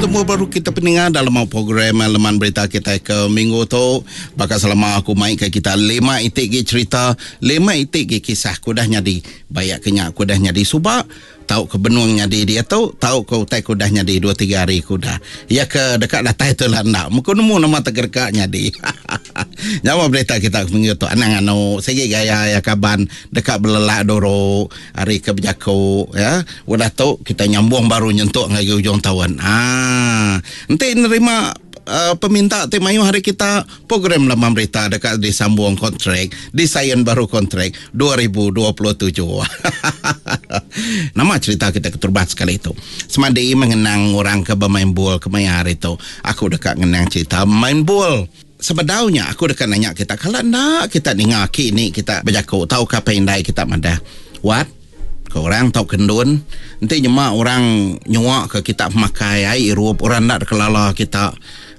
Betemu baru kita peninga dalam program Leman Berita kitai ke minggu tu. Baka selama aku mai ke kita lima iti gi cerita, lima iti gi kisah ke udah nyadi. Bayak ke nya ke udah nyadi suba, tau ke benung nyadi diatu, tau ke utai ke udah nyadi dua tiga hari ke udah. Iya ke deka datai tu lah enda. Muku nemu nama te deka nyadi. Nyawa berita kita ke minggu tu anang anu sigi gaya iya kaban deka belelak duru ari ke bejaku ya. Udah tu kita nyambung baru nyentuk ngagai ujung taun. Aa enti nerima peminta ti mayuh ari kita program Lembang Berita deka disambung kontrak, disain baru kontrak 2027. Nama cherita kita keterubah sekali tu? Semadi mengenang orang ke bemain bol kemaya hari tu, aku deka ngenang cherita main bol. Sebedau nya aku deka nanya kita kala enda kita ninga aki ini kita bejaku tauka apai indai kita madah, Wat, ke orang tauka endun, enti nyema orang nyua ke kita pemakai ai irup orang enda dikelala kita,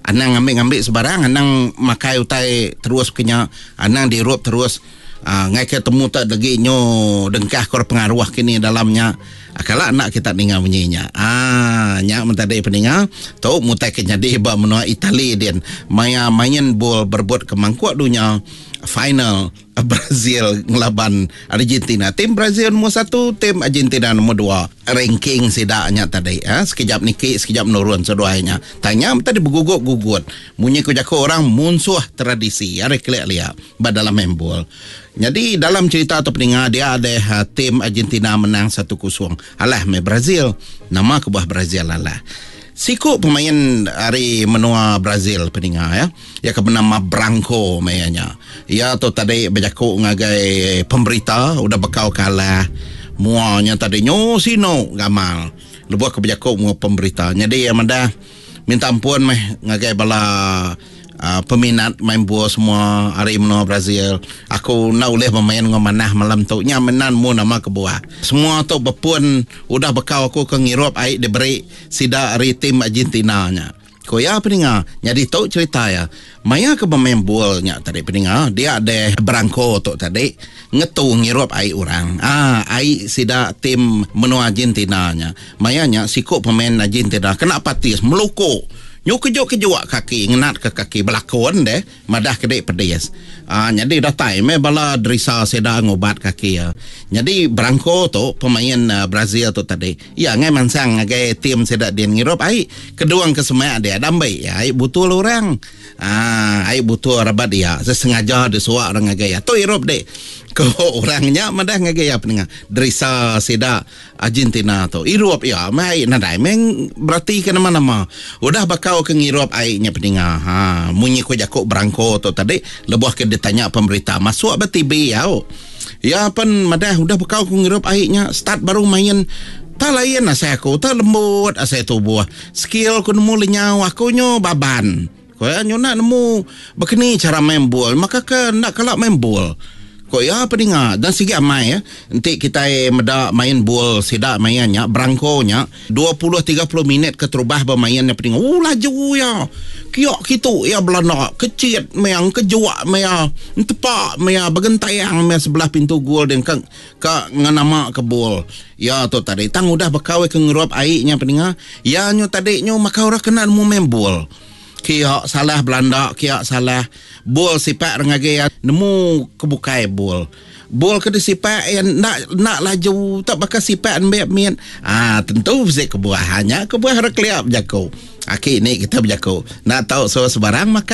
anang ngambi-ngambi sebarang, anang makai utai terus ke nya, anang diirup terus aaa ngaika temu te legi nyu dengkah ke orang pengaruh kini dalam nya. Kala enda kita ninga munyi nya. Aaa nya men tadi peninga tu mutai ke nyadi ba menua Itali din maya main bol berebut ke mangkuk dunya final. Brazil ngelaban Argentina. Tim Brazil nombor satu, tim Argentina nombor dua. Ranking sida nya tadi. Ha, sekejap niki, sekejap menurun seduai nya. Tang nya tadi begugut-gugut. Munyi ku jaku orang munsuh tradisi. Ari kelik lia ba dalam main bol. Nyadi dalam cerita tu peninga dia deh ha, tim Argentina menang 1-0. Alah meh Brazil. Nama kebuah Brazil alah. Siku pemain ari menua Brazil peninga ya. Iya ke benama Branco meh iya nya. Iya tu tadi bejaku ngagai pemberita udah bekau ke alah mua nya tadi nyu sinu gamal lebuh ke bejaku enggau pemberita. Nyadi iya madah minta ampun meh ngagai bala uhh peminat main bol semua ari menua Brazil. Aku enda ulih bemain enggau manah malam tu. Nya meh nan mu nama kebuah. Semua tu bepun udah bekau aku ke ngirup ai diberi sida ari tim Argentina nya. Ku iya peninga, nyadi tu cherita iya. Maya ke bemain bol nya tadi peninga, dia deh Branco tu tadi ngetu ngirup ai orang. Aa ai sida tim menua Argentina nya. Maya nya siku pemain Argentina kena patis meluku. Nyu kejuk-kejuk kaki ngenatka kaki belakon deh. Madah ke dik pedis. Aa nyadi datai meh bala derisa sida ngubat kaki iya. Nyadi Branco tu pemain Brazil tu tadi iya ngai mansang ngagai team sida din ngirup ai kedung ke semak dia dambi iya ai butul orang. Aa ai butul rabat iya sesengaja disuak orang ngagai iya. Tu irup dik ko orang nya madah ngagai iya penengah derisa sida. Argentina tu irup iya meh ai nadai meh berati ke nama nama udah bakau ke ngirup ai nya peninga ha munyi ku jaku Branco tu tadi lebuh ke ditanya pemberita masuk ba TV au iya pen madah udah bakau ku ngirup ai nya start baru main tak lain asai aku tak lembut asai tubuh skill ku nemu lenyau aku nyu baban ku iya nyu enda nemu bekeni chara main bol maka ke enda kala main bol. Ku iya peninga dan sigi amai enti kitai meda main bol sida maya nya Branco nya 20 30 minit keterubah bemain nya peninga ooh laju iya kiak kitu iya belanda kechit meh engkejuk meh iya entepa meh iya begentang meh sebelah pintu gol din ka ka ngenama ke bol iya tu tadi tang udah bekau ke ngerup ai nya peninga iya nyu tadi nyu maka orang kena nemu main bol. Kia salah belanda kia salah bol sipak re ngagai iya nemu ke bukai bol. Bol ke disipak iya enda enda laju tak baka sipak nembiak mit. Aa tentu bisi kebuah nya kebuah re kelia bejaku. Aki ni kita bejaku enda tau suah sebarang makai.